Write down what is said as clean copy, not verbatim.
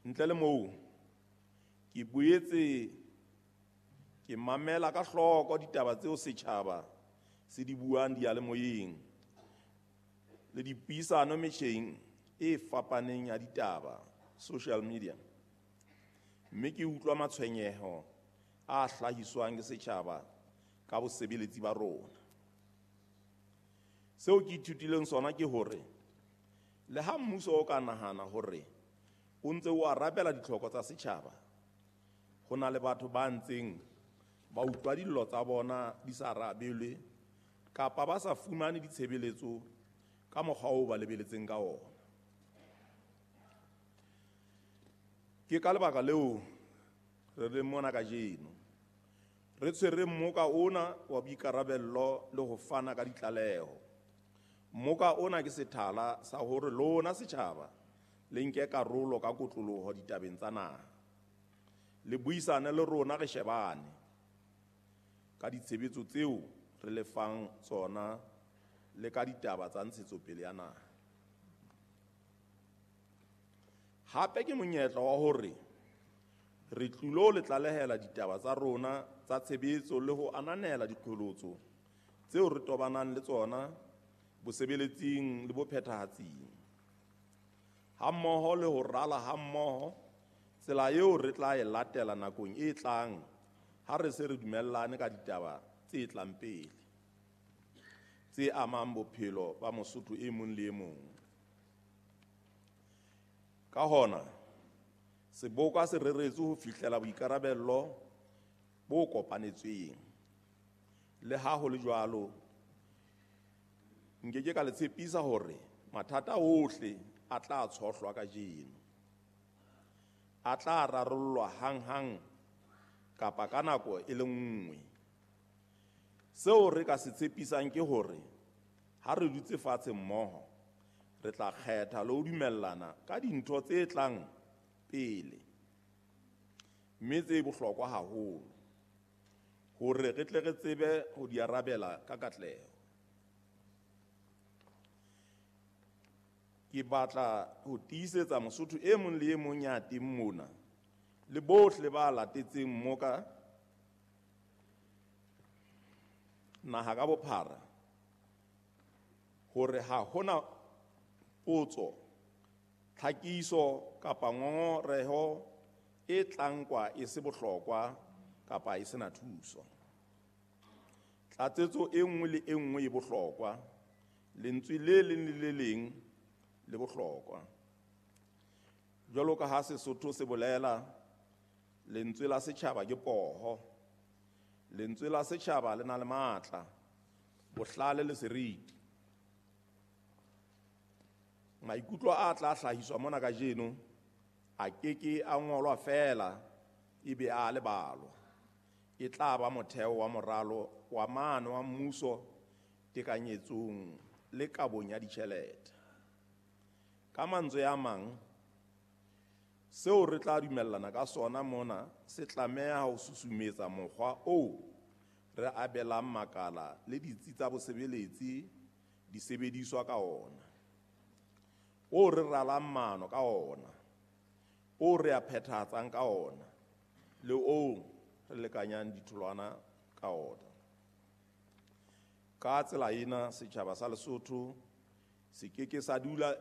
Ntle le moo, ke boetse ke mamela ka hloko ditaba tseo setjhaba se di buang diyalemoyeng le dipuisano metjheng e fapaneng ya ditaba, social media, mme ke utlwa matshwenyeho a hlahiswang ke setjhaba ka bosebeletsi ba rona. Seo ke ithutileng sona ke hore le ha mmuso o ka nahana hore o ntse o arabela ditlhoko tsa setjhaba, ho na le batho ba ntseng ba utlwa dillo tsa bona di sa arabelwe kapa ba sa fumane ditshebeletso ka mokgwa oo ba lebeletseng ka ona. Ke ka lebaka leo re leng mona kajeno, re tshwere mmoka ona wa boikarabello le ho fana ka ditlaleho. Mmoka ona ke sethala sa hore lona setjhaba le nke karolo ka kotloloho ditabeng tsa naha. Le buisane le rona re shebane ka ditshebetso tseo re le fang tsona le ka ditaba tsa ntshetsopele ya naha. Hape ke monyetla wa hore re tlilo le tlalehela ditaba tsa rona tsa tshebetso le ho ananela diqholotso tseo re tobanang le tsona bosebeletsing le bophethahatsing, hammoho le ho rala hammoho tsela eo re tla e latela nakong e tlang ha re se re dumellane ka ditaba tse tlang pele tse amang bophelo ba Mosotho e mong le e mong. Ka hona, seboka se reretswe ho fihlela boikarabello bo kopanetsweng. Le ha ho le jwalo, nke ke ka le tshepisa hore mathata ohle a tla tshohlwa kajeno, a tla rarollwa hanghang kapa ka nako e le nngwe. Seo re ka se tshepisang ke hore ha re dutse fatshe mmoho, re tla kgetha le ho dumellana ka dintho tse tlang pele, mme tse bohlokwa haholo, hore re tle re tsebe ho di arabela ka katleho. Ke batla ho tiisetsa Mosotho e mong le e mong ya teng mona le bohle ba latetseng mmoka naha ka bophara hore ha hona potso, tlhakiso kapa ngongoreho e tla nkwa e se bohlokwa kapa e sena thuso. Tlatsetso e nngwe le e nngwe e bohlokwa, lentswe le leng le le leng le bohlokwa. Jwalo ka ha Sesotho se bolela, lentswe la setjhaba ke poho. Lentswe la setjhaba le na le matla, bohlale le seriti. Maikutlo a tla hlahiswa mona kajeno a keke a ngolwa feela ebe a lebalwa. E tla ba motheo wa moralo wa maano wa mmuso tekanyetsong le kabong ya ditjhelete. Ka mantswe a mang, seo re tla dumellana ka sona mona se tlameha ho susumetsa mokgwa oo re abelang makala le ditsi tsa bosebeletsi disebediswa ka ona, o re ralang maano ka ona, o re a phethahatsang ka ona, le o re lekanyang ditholwana ka ona. Ka tsela ena, setjhaba sa Lesotho se ke ke sa dula